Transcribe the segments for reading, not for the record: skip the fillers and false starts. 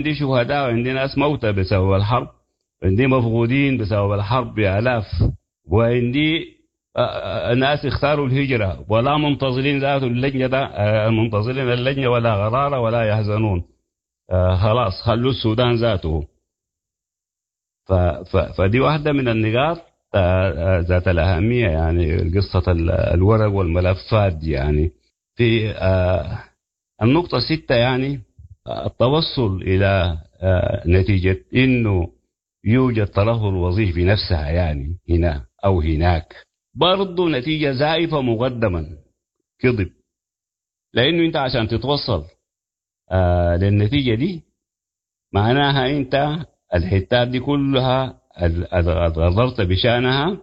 عندي شهداء وعندي ناس موتى بسبب الحرب، عندي مفقودين بسبب الحرب بآلاف، وعندي ناس اختاروا الهجرة ولا منتظرين ذات اللجنة ده، منتظرين اللجنة ولا غرارة ولا يحزنون. خلاص خلوا السودان ذاته. فدي واحدة من النقاط ذات الأهمية، يعني قصة الورق والملفات دي. يعني في النقطة 6، يعني التوصل إلى نتيجة إنه يوجد ترهل وظيفي نفسها، يعني هنا أو هناك، برضو نتيجة زائفة مقدما كذب، لأنه أنت عشان تتوصل للنتيجة دي معناها أنت الحتات دي كلها غررت بشانها،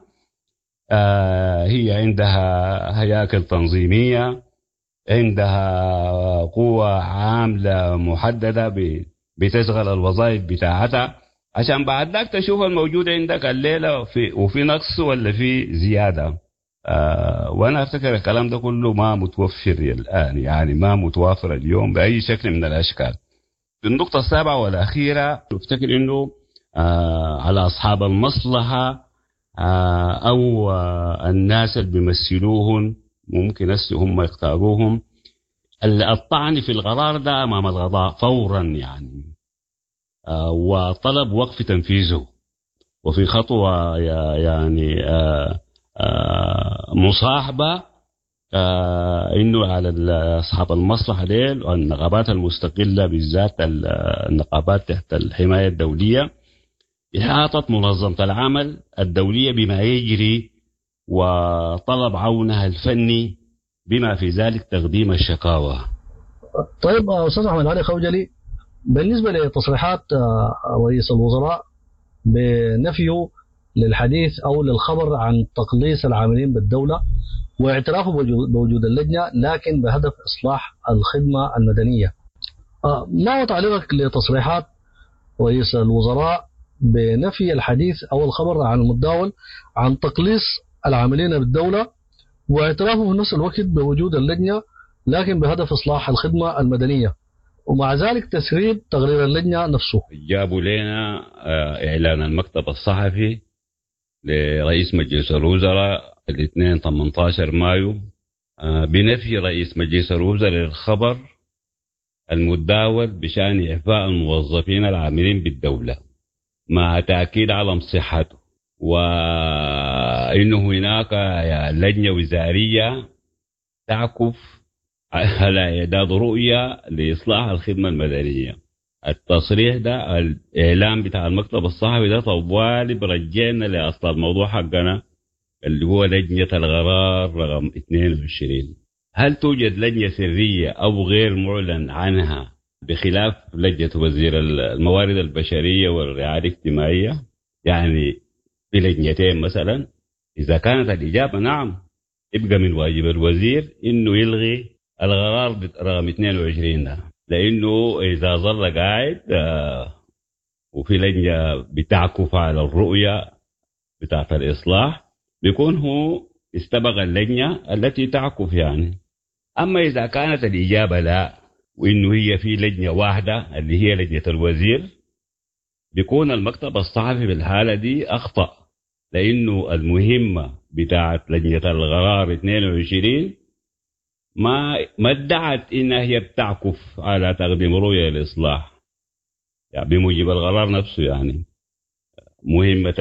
هي عندها هياكل تنظيمية، عندها قوة عاملة محددة بتشغل الوظائف بتاعتها، عشان بعد ذاك تشوف الموجود عندك الليلة وفي نقص ولا في زيادة. وأنا أفتكر الكلام ده كله ما متوفر الآن، يعني ما متوافر اليوم بأي شكل من الأشكال. في النقطة السابعة والأخيرة، أفتكر إنه على أصحاب المصلحة أو الناس اللي بيمثلوهم ممكن هسه هم يختاروهم الطعن في القرار ده أمام القضاء فورا، يعني وطلب وقف تنفيذه، وفي خطوة يعني مصاحبة إنه على أصحاب المصلحة ديل والنقابات المستقلة، بالذات النقابات تحت الحماية الدولية، إحاطة منظمة العمل الدولية بما يجري وطلب عونها الفني بما في ذلك تقديم الشكاوى. طيب أستاذ أحمد علي خوجلي، بالنسبة لتصريحات رئيس الوزراء بنفيه للحديث أو للخبر عن تقليص العاملين بالدولة واعترافه بوجود اللجنة لكن بهدف إصلاح الخدمة المدنية، ما هو تعليقك لتصريحات رئيس الوزراء بنفي الحديث أو الخبر عن المتداول عن تقليص العاملين بالدولة واعترافه في نفس الوقت بوجود اللجنة لكن بهدف إصلاح الخدمة المدنية، ومع ذلك تسريب تقرير اللجنة نفسه؟ جابوا لنا إعلان المكتب الصحفي لرئيس مجلس الوزراء الاثنين 18 مايو بنفي رئيس مجلس الوزراء للخبر المتداول بشأن إعفاء الموظفين العاملين بالدولة مع تأكيد على صحته، وإنه هناك لجنة وزارية تعكف على إعداد رؤية لإصلاح الخدمة المدنية. التصريح ده، الإعلام بتاع المكتب الصحفي ده، طوالي برجعنا لأصل الموضوع حقنا اللي هو لجنة القرار رقم 22. هل توجد لجنة سرية أو غير معلن عنها بخلاف لجنة وزير الموارد البشرية والرعاية الاجتماعية؟ يعني في لجنتين مثلا؟ إذا كانت الإجابة نعم، يبقى من واجب الوزير إنه يلغي القرار رقم 22 ده، لأنه إذا ظل قاعد وفي لجنة بتعكف على الرؤية بتاعت الإصلاح بيكون هو استبق اللجنة التي تعكف يعني. أما إذا كانت الإجابة لا، وإنه هي في لجنة واحدة اللي هي لجنة الوزير، بيكون المكتب الصحفي بالحالة دي أخطأ، لأنه المهمة بتاعت لجنة القرار 22 ما ادعت إنها هي بتعكف على تقديم رؤية للإصلاح، يعني بموجب القرار نفسه. يعني مهمة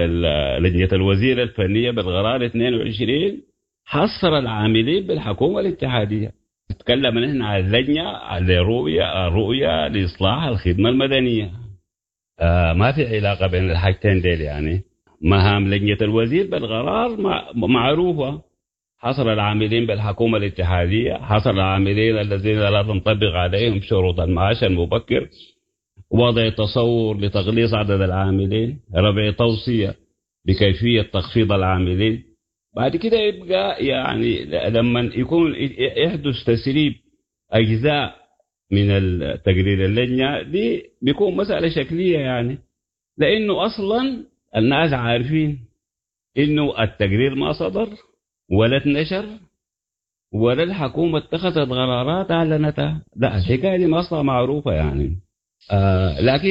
لجنة الوزير الفنية بالقرار 22 حصر العاملين بالحكومة الاتحادية. نتكلم نحن عن اللجنة على رؤية لإصلاح الخدمة المدنية، ما في علاقة بين الحاجتين ديل. يعني مهام لجنة الوزير بالقرار معروفة، حصر العاملين بالحكومة الاتحادية، حصر العاملين الذين لا تنطبق عليهم شروط المعاش المبكر، وضع تصور لتقليص عدد العاملين، رفع توصية بكيفية تخفيض العاملين. بعد كده يبقى يعني لما يكون يحدث تسريب أجزاء من تقرير اللجنة دي بيكون مسألة شكلية، يعني لأنه أصلا الناس عارفين إنه التقرير ما صدر ولا اتنشر ولا الحكومة اتخذت قرارات أعلنتها. لا، الحكاية دي ما أصلا معروفة يعني. لكن